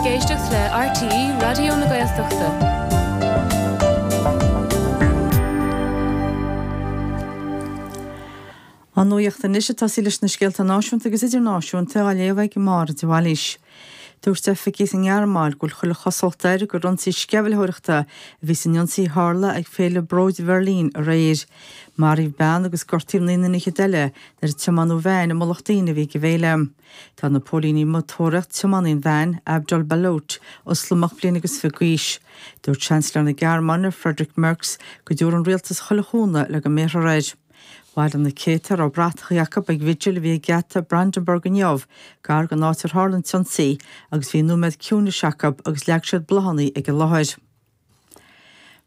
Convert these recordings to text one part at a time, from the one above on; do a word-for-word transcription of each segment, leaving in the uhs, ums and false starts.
ag éisteacht le RTÉ Raidió na Gaeltachta. An nuacht anois ag tosaí leis na scéalta náisiúnta agus idirnáisiúnta á léamh ag Máire de Bhailís. Dúirt oifigigh sa nGearmáin go bhfuil chuile chosúlacht air gur ionsaí sceimhlitheoireachta a bhí san ionsaí a tharla ag Féile Bróid Bheirlín aréir. Maraíodh bean agus gortaíodh naoi nduine fhichead eile nuair a tiomáineadh veain i mullach daoine a bhí ag an bhféile. Tá na póilíní amuigh ag tóraíocht tiománaí an veain, Abdul Balut, Ioslamach bliain agus fiche d'aois. Dúirt Seansailéir na Gearmáine, Friedrich Merz, go dtabharfaidh an rialtas chuile chúnamh le go mbéarfar air. Bhailigh na céadta a raibh bratachaí acu ag bhigil a bhí ag geata Brandenburg inniu, gar don áit ar tharla an t-ionsaí, agus bhí nóiméad ciúnais acu agus leag siad bláthanna ag an láthair.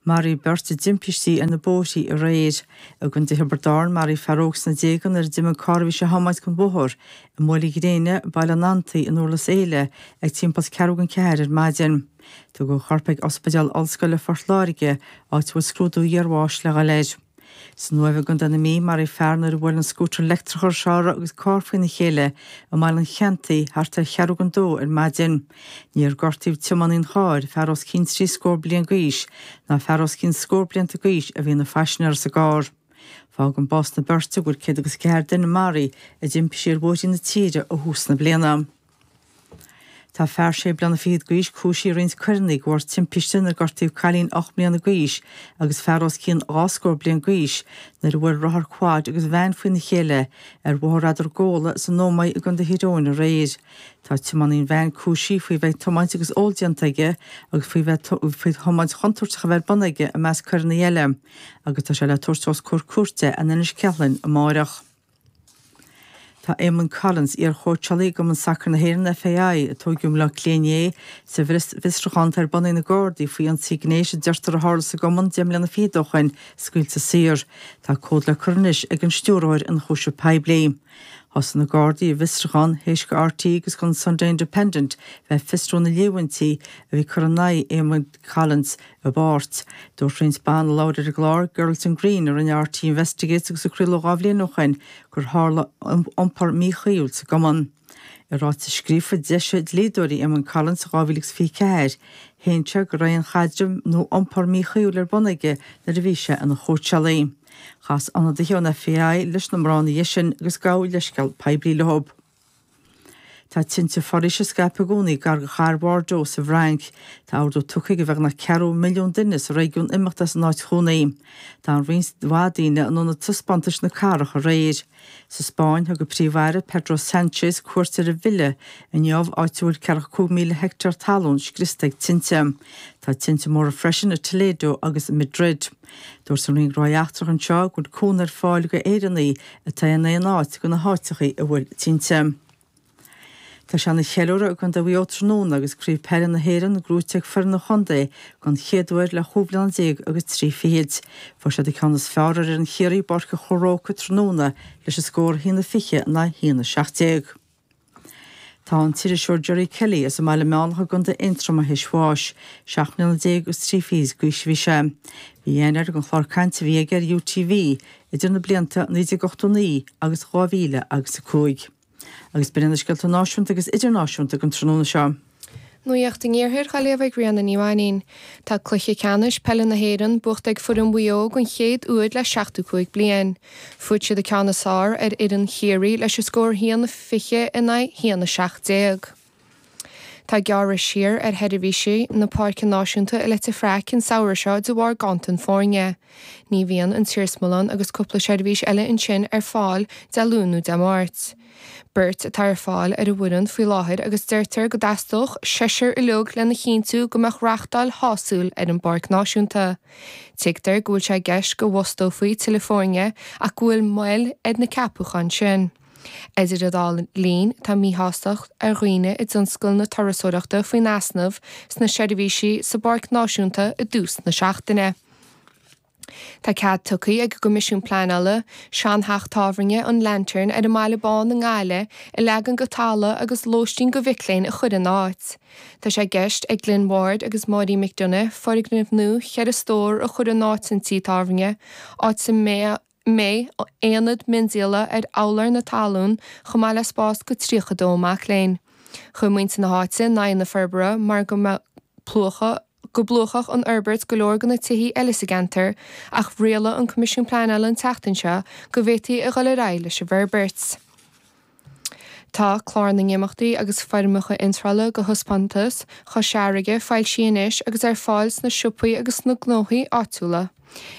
Maraíodh beirt i dtimpistí ar na bóithrí aréir. I gContae Thiobraid Árann, maraíodh fear óg sna déaga nuair a d'imigh an carr a bhí sé a thiomáint den bhóthar i mBaile Ghréine, Baile an Fhantaigh in Durlas Éile ag timpeall ceathrú don ceathair ar maidin. Tugadh a chorp ag Ospidéal Ollscoile Phort Láirge, áit a bhfuil scrúdú iarbháis le dhul air. San Uaimh i gContae na Mí, maraíodh fear nuair a bhuail an scútar leictreach a raibh sé ar agus carr faoina chéile i mBaile an Cheantaigh thart ar cheathrú don dó ar maidin. Níor gortaíodh tiománaí an chairr, fear os cionn trí scór bliain d'aois, ná fear os cionn scór blianta d'aois a bhí ina phaisinéir sa gcarr. Fágann bás na beirte go bhfuil céad agus ceathair duine maraithe i dtimpistí ar bhóithrí na tíre ó thús na bliana. Tá fear sé bliana fichead d'aois cúisithe i roinnt coireanna de bharr timpiste inar gortaíodh cailín ocht mbliana d'aois agus fear os cionn dhá scór bliain d'aois nuair a bhuail rothar quad agus veain faoina chéile ar Bhóthar Eadargóla san Ómaigh i gContae Thír Eoghain aréir. Tá tiománaí an veain cúisithe faoi bheith ag tiomáint agus ól déanta aige agus faoi bheith faoi thiomáint chontúirteach a bheith ar bun aige i measc coireanna eile agus tá sé le tabhairt os comhair cúirte in Inis Ceithleann amárach. Tá Eamon Collins, iar-chóitseálaí i gCumann Sacair na hÉireann, FAI, a tóigeadh i mBaile Átha Cliath inné sa bhfiosrúchán atá ar bun ag na Gardaí faoi ionsaí gnéis a deirtear a tharla sa gcumann deich mbliana fichead ó shoin, scaoilte saor. Tá comhad le cur anois ag an Stiúrthóir Ionchúiseamh Poiblí. Thosaigh na Gardaí a bhfiosrúchán théis do RTÉ agus don Sunday Independent bheith ag fiosrú na líomhaintí a bhí curtha in aghaidh Eamon Collins i bpáirt. Dúirt roinnt ban a labhair ar an gclár Girls in Green a rinne RTÉ Investigates agus a craoladh dhá bhliain ó shoin gur tharla iompar míchuíúil sa gcumann. I ráiteas scríofa d'eisigh dlíodóirí Eamon Collins in dhá mhíle agus fiche ceathair, shéan sé go raibh aon chaidreamh nó iompar míchuíúil ar bun aige nuair a bhí sé ina chóitseálaí. Chas ionadaithe ón FAI leis na mná ina dhiaidh sin agus gabhadh leithscéal poiblí leo. Tá tinte foraoise ag scaipeadh i gcónaí gar do chathair Bhordeaux sa bhFrainc. Tá ordú tugtha ag beagnach ceathrú milliún duine sa réigiún imeacht as an áit chónaí. D'fhan roinnt mhaith daoine in ionad taispeántais na cathrach aréir. Sa Spáinn, thug an Príomh-Aire Pedro Sánchez cuairt ar an bhfile inniu, áit a bhfuil ceathracha cúig míle heicteár talún scriosta ag tinte. Tá tinte móra freisin i Toledo agus i Madrid. Dúirt an Roinn Gnóthaí Eachtracha anseo go bhfuil cúnamh ar fáil do Éireannaigh atá in aon áit de na háiteacha a bhfuil tinte. Tá sé ina cheiliúradh i gContae Mhaigh Eo tráthnóna agus Craobh Peile na hÉireann gnóite ag foireann an chontae don chéad uair le chúig bhliana déag agus trí fichid. Fuair siad an ceann is fearr ar fhoireann Chiarraí i bPáirc an Chrócaigh tráthnóna leis an scór a haon a fiche in aghaidh a haon a seacht déag. Tá an t-iriseoir Gerry Kelly as an mBaile Meánach i gContae Aontroma théis bháis. Seacht mbliana déag agus trí fichid d'aois a bhí sé. Bhí aithne air don chlár cainte a bhí aige ar UTV idir na blianta naoi déag ochtó naoi agus dhá mhíle agus a cúig. Agus b'in iad na scéalta náisiúnta agus idirnáisiúnta don tráthnóna seo. Nuacht an Iarthair á léamh ag Ríona Ní Mhainín. Tá cluiche ceannais peile na hÉireann buachta ag foireann Mhaigh Eo den chéad uair le seachtó cúig bliain. Fuair siad an ceann is fearr ar fhoireann Chiarraí leis an scór haon a fiche in aghaidh haon a seacht déag. Tá gearradh siar ar sheirbhísí na Páirce Náisiúnta i Leitir Fraic an samhradh seo de bharr ganntan foirne. Ní bhíonn an t-iarsmalann agus cúpla seirbhís eile ansin ar fáil Dé Luain nó Dé Máirt. Beirt atá ar fáil ar an bhfoireann faoi láthair agus deirtear go dteastódh seisear uilig lena chinntiú go mbeadh reáchtáil shásúil ar an bPáirc Náisiúnta. Tuigtear go bhfuil sé i gceist go bhfostófaí tuilleadh foirne ach go bhfuil moill ar na ceapúcháin sin. Idir an dá linn, tá míshástacht ar dhaoine i dtionscal na turasóireachta faoin easnamh sna seirbhísí sa bPáirc Náisiúnta i dtús na seachtaine. Tá cead tugtha ag an gCoimisiún Pleanála seantheach tábhairne an Lantern ar an mBaile Bán i nGaillimh a leagan go talamh agus lóistín do mhic léinn a chur ina áit. Tá sé i gceist ag Glyn Ward agus Máirín McDonagh foirgneamh nua cheithre stór a chur in áit an tí tábhairne, áit a mbeidh mbeidh aonad miondíola ar urlár na talún chomh maith le spás do tríocha dó mac léinn. Chuir muintir na háite in aghaidh na forbartha mar go mbeadh go bplúchfadh an fhorbairt go leor de na tithe eile sa gceantar ach rialaigh an Coimisiún Pleanála an tseachtain seo go bhféadfaí a dhul ar aghaidh leis an bhforbairt. Tá clár na n-imeachtaí agus foirmeacha iontrála do thaispeántas Chois Fharraige foilsithe anois agus ar fáil sna siopaí agus sna gnóthaí áitiúla.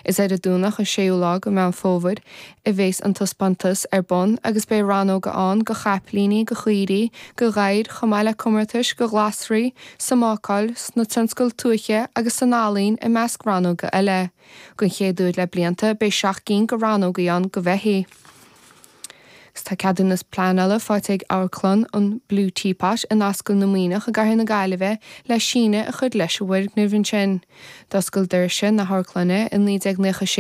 Is ar an Domhnach an séú lá de Mheán Fómhair a bheas an taispeántas ar bun agus beidh rannóga ann do chapaillíní, do chaoirigh, do ghadhair, chomh maith le comórtais do ghlasraí, sa mbácáil, sna tionscail tuaithe agus san ealaín i measc rannóga eile. Don chéad uair le blianta beidh seacht gcinn de rannógaí ann do bheithígh. Tá ceadúnas pleanála faighte ag amharclann an Blue Teapot in Ascaill na Maoineach i gCathair na Gaillimhe le síneadh a chur leis an bhfoirgneamh ansin. D'oscail doirse na hamharclainne i naoi déag nócha sé